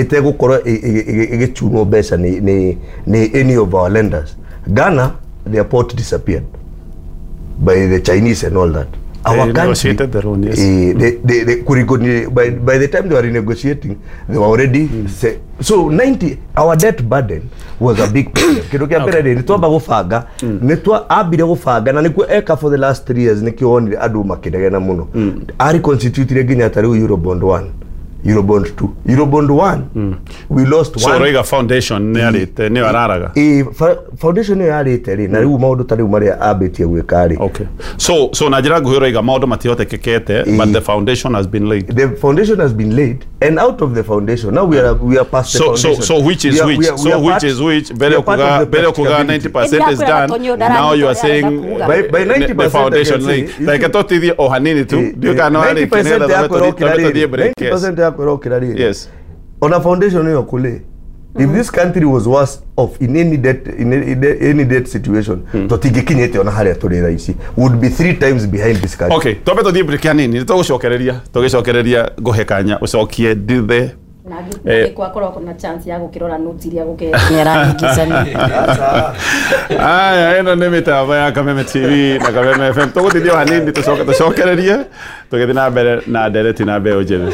Ĩtegũkorwo ĩgĩchunwo mbeca nĩ any of our lenders. Ghana, their port disappeared by the Chinese and all that. They negotiated their own, yes. They, by the time they were renegotiating, they were already so 90, our debt burden was a big problem. Kĩndũ kĩa mbere rĩ, nĩ twamba gũbanga, nĩ twa ambire gũbanga na nĩkuo eka for the last 3 years, nĩkĩo wonire andũ makĩnegena mũno. Ari constitutire nginya ta rĩu Eurobond 1, Eurobond 2, Eurobond 1, we lost So one. Ũraiga foundation nĩ arĩte, nĩyo araraga. Ĩ, foundation ĩyo yarĩte rĩ, na rĩu maũndũ ta rĩu marĩa ambĩtie gwĩka rĩ. Okay, so na njĩra nguhĩ ũraiga maũndũ matihotekekete, but the foundation has been laid. The foundation has been laid, and out of the foundation, now we are past the So so foundation. So which is which? We So are which part- is which? We Mbere are part of kuga the mbere kuga practicability. 90% is done, now you are saying By 90% the foundation I can laid. say, Reke tũtithie o hanini tu, ndiũ kana no arĩkie 90% nĩgetha yakwa ĩrokĩra twambe tũthiĩ rĩrĩ, break, yes. 90% yakwa ĩrokĩra rĩrĩ, ona foundation ĩyo kũlĩ, if this country was worse off in any debt, in any debt situation, tũtingĩkinyĩte ona harĩa tũrĩ thaa ici, would be three times behind this country. Okay, twambe tũthiĩ break hanini, nĩ tũgũcokereria, tũgĩcokereria ngũhe kanya ũcokie ndithe. Na gwakorwo na chance ya gũkĩrora notes iria gũke nĩ arahĩngĩcania. Aya, ĩno nĩ mĩtambo ya Kameme TV na Kameme FM. Tũgũtithia o hanini, tũcoke tũcokererie tũgĩthiĩ na mbere na ndereti na mbeũ njĩthĩ.